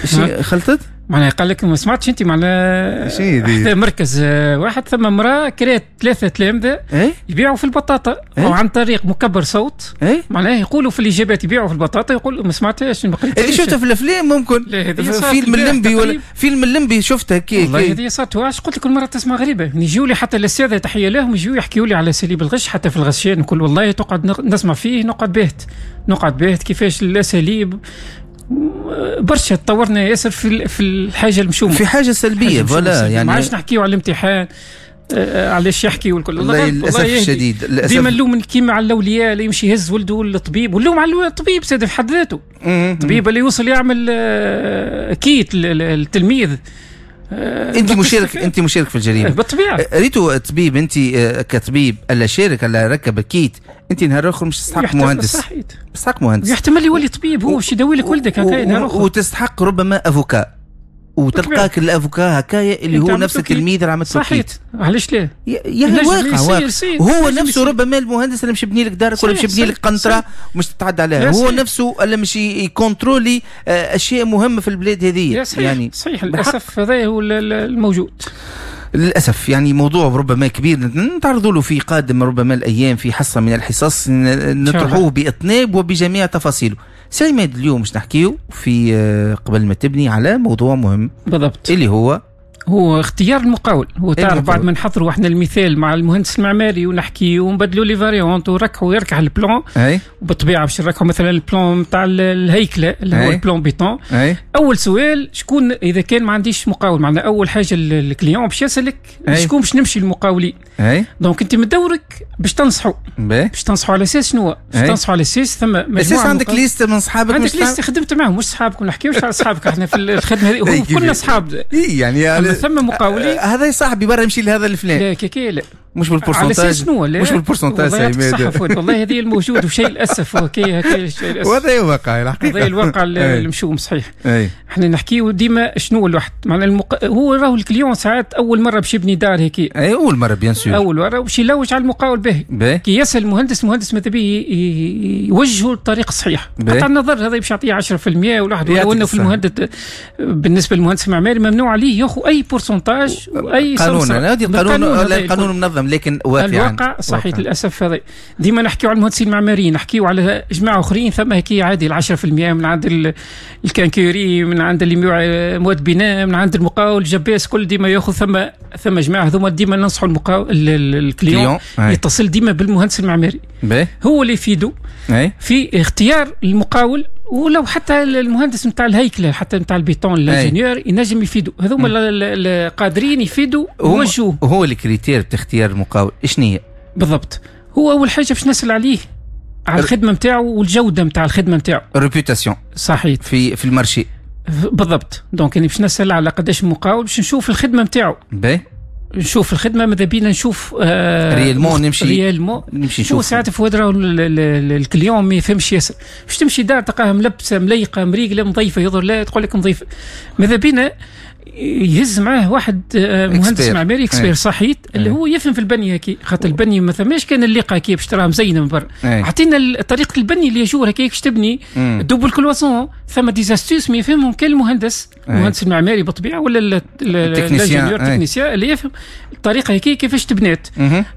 شي خلطت؟ معناها قال لك ما سمعتش انت معناها شي مركز واحد ثم امراة كرات ثلاثة تلامذه ايه؟ يبيعوا في البطاطا ايه؟ وعن طريق مكبر صوت ايه؟ معناها يقولوا في الاجابات يبيعوا في البطاطا، يقول ما سمعتهاش، ما قريتهاش. اللي شفتها في الافلام ممكن فيلم الليمبي ولا فيلم الليمبي شفتها كي والله هذه صارت. علاش قلت لك كل مرة تسمع غريبه، يجيو لي حتى الاساتذه، تحية لهم، يجيو يحكيوا لي على اساليب الغش حتى في الغشان نقول والله تقعد نسمع فيه نقعد باهت، نقعد باهت كيفاش الاساليب برشا تطورنا ياسر في الحاجة المشومه، في حاجة سلبية voilà. يعني ما عادش نحكيو على الامتحان علاش يحكي والكل. والله للاسف الشديد. ديما نلوم كيما على الاولياء اللي يمشي يهز ولده للطبيب، ونلوم على الطبيب زاد في حد ذاته، الطبيب اللي يوصل يعمل kit للتلميذ. انت مشارك، انت مشارك في الجريمة بالطبيعه. ريتو طبيب، انت كطبيب الا شارك الا ركب ال kit، انت نهار اخر مش تستحق مهندس، صحيت تستحق مهندس، يحتمل يولي طبيب هو باش يداوي لك ولدك هكا نهار اخر، وتستحق ربما avocat، وتلقاك ال avocat هكايا اللي هو نفس التلميذ اللي عملت صحيت. علاش لا؟ يا واقع واقع هو نفسه ربما المهندس اللي مش يبني لك دارك ولا مش يبني لك قنطرة ومش تتعدى عليها، هو نفسه اللي مش ي contrôler اشياء مهمة في البلاد هذه. يعني صحيح للاسف هذا هو الموجود للاسف. يعني موضوع ربما كبير نتعرض له في قادم ربما الايام في حصة من الحصص نطرحوه باطناب وبجميع تفاصيله. سي عماد، اليوم باش نحكيو في قبل ما تبني على موضوع مهم بالضبط، اللي هو هو اختيار المقاول. هو تعرف بعد ما نحضروا احنا المثال مع المهندس المعماري ونحكي ونبدلوا les variantes ونركحوا يركح ال plan، وبالطبيعه باش نركحوا مثلا ال plan نتاع الهيكله اللي هو ال plan béton. اول سؤال شكون اذا كان ما عنديش مقاول، معناها اول حاجة ال client باش يسالك شكون باش نمشي للمقاولين. donc انت من دورك باش تنصحوا، باش تنصحوا على اساس شنو؟ باش تنصحوا على اساس ثم مجموعة، اساس عندك liste من صحابك، عندك liste خدمت معهم، مش صحابك، ما نحكيوش على صحابك احنا في الخدمة هذه، كلنا صحاب. يعني ثم مقاولين هذا صاحبي برا يمشي لهذا الفلان، لا كي لا مش بال pourcentage، مش بال pourcentage. والله هذه الموجود وشيء للاسف كي شيء للاسف، وهذا الواقع الحقيقه، هذا الواقع المشوم صحيح. احنا نحكيو ديما شنو الواحد معناها هو راهو ال client ساعات اول مرة باش يبني دار هيك، اي اول مرة bien sûr، اول مرة باش يلوج على المقاول باهي. كي يسال المهندس، المهندس ماذا به يوجهه الطريق الصحيح، قطع النظر هذا باش يعطيه 10% ولا واحد، ولو انه في المهندس بالنسبة للمهندس المعماري ممنوع عليه ياخذ اي pourcentage واي قانون، هذه قانون، القانون منظم لكن واقع الواقع صحيح للاسف. هذا ديما نحكيو على المهندسين المعماريين، نحكيو على جماعة اخرين ثم هكي عادي 10% من عند ال quincaillerie، من عند اللي يبيع مواد بناء، من عند المقاول الجباس، كل ديما ياخذ. ثم جماعة هذوما ديما ننصحوا المقاول ال client يتصل ديما بالمهندس المعماري، هو اللي يفيده في اختيار المقاول، ولو حتى المهندس نتاع الهيكله حتى نتاع ال béton l'ingénieur ينجم يفيدوا، هذوما قادرين يفيدوا ويوجهوا. هو les critères اختيار المقاول ايش هي؟ بالضبط، هو اول حاجة باش نسال عليه على الخدمة نتاعو والجودة نتاع الخدمة نتاعو، réputation صحيح في ال marché بالضبط. donc يعني باش نسال على قداش مقاول باش نشوف الخدمة نتاعو، باهي نشوف الخدمة ماذا بينا نشوف réellement نمشي réellement نمشي نشوف. ساعات فؤاد راهو ال client ما يفهمش ياسر، باش تمشي دار تلقاها ملبسه مليقه مريقله نظيفة، يظهر لا تقول لك نظيفة، ماذا بينا يهز معاه واحد مهندس معماري expert صحيت اللي هو يفهم في البنية كي، خاطر البنية ما ثماش كان الليقه كي باش تراها مزينة من برا، عطينا طريقه البني اللي يجور هكاك باش تبني double cloison، ثم des astuces ما يفهمهم كان المهندس، المهندس المعماري بالطبيعة ولا l'ingénieur technicien اللي يفهم الطريقة هكي كيفاش تبنات.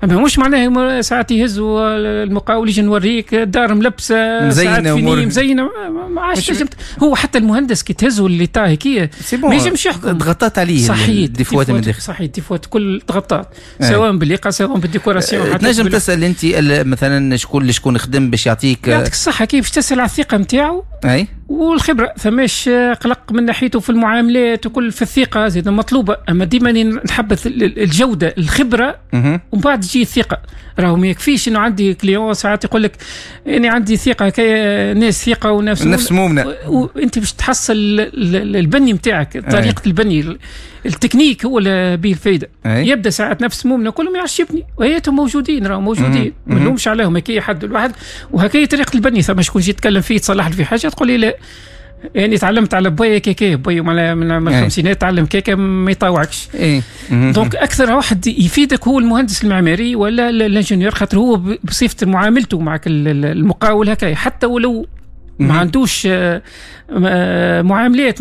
اما مش معناها ساعات يهزوا المقاول يجي نوريك دار ملبسه مزينة مزينة ما عادش. هو حتى المهندس كي تهزوا l'état هكي ما ينجمش يحكم، تغطات عليه صحيح défauts من داخل، صحيح défauts كل تغطات سواء بالليقه سواء بال décoration. تنجم تسال انت مثلا شكون شكون خدم باش يعطيك يعطيك الصحة كيف باش تسال على الثقة نتاعو اي والخبرة، ثماش قلق من ناحيته في المعاملات وكل، في الثقة زيد مطلوبه. اما ديما نحبذ الجودة الخبرة ومن بعد تجي الثقة. راهو ما يكفيش انه عندي client ساعات يقول لك اني عندي ثقة كي ناس ثقة ونفس نفس مؤمنة، وانت باش تحصل البني نتاعك طريقه البني التكنيك هو اللي به الفايدة. يبدا ساعات نفس مؤمنة كلهم ما يعرفش يبني، وهيتهم موجودين راهو موجودين ما نلومش عليهم هكي حد الواحد وهكي طريقه البني. ثم شكون يجي يتكلم فيه تصلح له في حاجة تقول لي لا يعني تعلمت على بويا كيكي بويا من الخمسينات تعلم كيكة ما يطاوعكش. donc اكثر واحد يفيدك هو المهندس المعماري ولا l'ingénieur، خاطر هو بصفة معاملته معك المقاول هكا، حتى ولو ما عندوش معاملات.